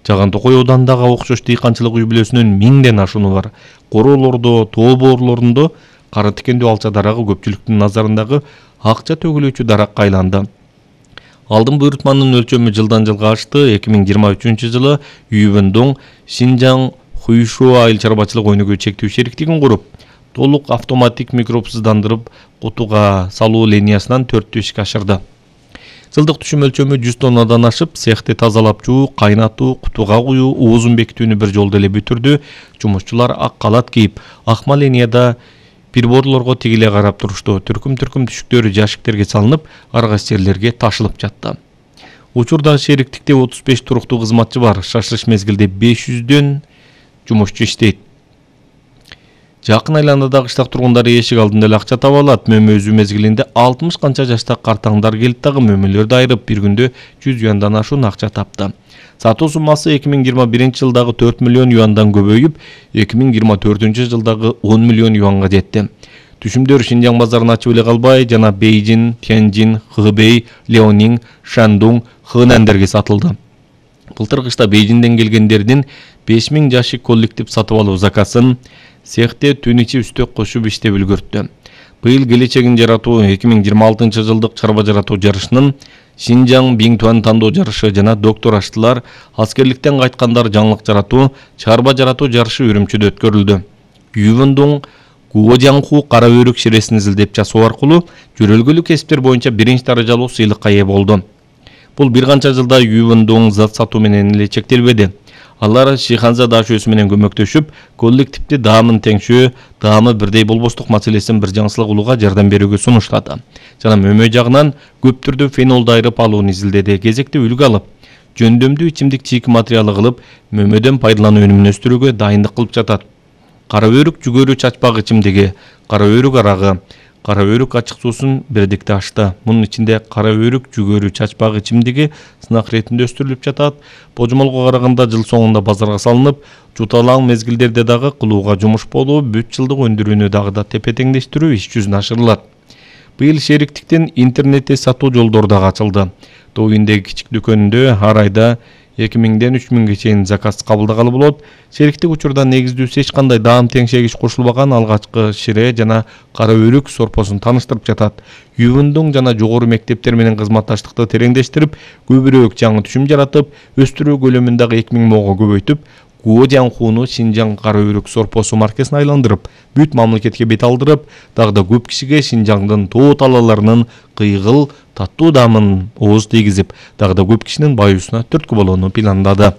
Жаган Токой оодандагы окшош дыйканчылык үй бүлөсүнүн 1000ден ашууну бар. Короолордо, тоо боорлорунда кара тикендүү алча дарагы көпчүлүктүн назарындагы акча төгүлүүчү даракка айланды. Алдын буйрутманын өлчөмү жылдан жылга ашты. 2023-жылы Ювендон Шинжаң Хуйшуа айыл чарбачылык өнүгүү чектүү шериктигин куруп, толук автоматик микробсыздандырып кутуга салуу линиясынан 4 ишке ашырды. Жылдык түшүм өлчөмү 100 тоннадан ашып, цехти тазалап жуу, кайнатуу, кутуга куюу, оозун бекитүүнү бир жолдо эле бүтүрдү. Жумушчулар ак калат кийип, акма линияда приборлорго тигиле карап турушту. Түркүм түшүктөрү жашиктерге салынып, ар кайсы жерлерге ташылып жатты. Учурда шериктикте 35 туруктуу кызматчы бар. Шашылыш мезгилде 500дөн жумушчу иштейт. Жакын айланадагы кыштак тургундары эшик алдында эле акча таба алат. Мөмө өзү мезгилинде 60 канча жашта картаңдар келип дагы мөмөлөрдү айырып, бир күндө 100 юандан ашуун акча тапты. Сатуу суммасы 2021-жылдагы 4 миллион юандан көбөйүп, 2024-жылдагы 10 миллион юанга жетти. Түшүмдөр Шинжаң базарын ачып эле калбай, жана Бейжин, Тяньжин, Хэбэй, Леонинг, Шандун, Хэнандерге сатылды. Былтыр кышта Бейжинден келгендердин 5000 жашик коллектив сатып алуу заказын цехте түн ичи үстөк кошуп иштеп үлгөрттү. Быйыл келечегин жаратуу 2026-жылдык чарба жаратуу жарышынын Шинжаң Биңтуан тандоо жарышы жана доктор аштылар аскерликтен кайткандар жаңылык жаратуу, чарба жаратуу жарышы Үрүмчүдө өткөрүлдү. Ювендон Гуожаңху кара өрүк ширесин изилдеп жасоо аркылуу жөрөлгөлүк кесиптер боюнча биринчи даражалуу сыйлыкка ээ болду. Бул бир канча жылда Ювендон зат сатуу менен эле чектелбеди. Алар Шиханза дашөөсү менен көмөктөшүп, коллективди даамын теңшөө, даамы бирдей болбостук маселесин бир жаңсылык улууга жардам берүүгө сунуштады. Жана мөмө жагынан көп түрдө фенолду айырып алууну изилдеди. Кезекте үлгү алып, жөндөмдүү ичимдик чийик материалы кылып, мөмөдөн пайдалануу өнүмүн өстүрүүгө дайындык кылып жатат. Кара өрүк жүгөрү чачпак ичимдиги, кара өрүк арагы, кара өрүк ачык суусун бирдикте ашты. Мунун ичинде кара өрүк жүгөрү чачпак ичимдиги сынак иретинде өстүрүлүп жатат. Божомолго караганда жыл соңунда базарга салынып, жуталаң мезгилдерде дагы кылууга жумуш болуу, бүт жылдык өндүрүүнү дагы да тепе-теңдештирүү иш жүзүнө ашырылат. Быйыл шериктиктин интернетте сатуу жолдору дагы ачылды. Тоо үйүндөгү кичик дүкөнүндө ар айда 2000ден 3000ге чейин заказ кабылдагалы болот. Шериктик учурда негиздүүсү эч кандай даам теңшегич кошулбаган алгачкы шире жана кара өрүк сорпосун тааныштырып жатат. Ювендон жана жогору мектептер менен кызматташтыкты тереңдештирип, көбүрөөк жаңы түшүм жаратып, өстүрүү көлөмүн дагы 2000 мыңга көбөйтүп, Гуожаңхуну Шинжаң кара өрүк сорпосу маркасына айландырып, бүт мамлекетке бет алдырып, дагы да көп кишиге Шинжаңдын тоо талааларынын кыйгыл, таттуу даамын ооз тийгизип, дагы да көп кишинин баюусуна түрткү болууну пландады.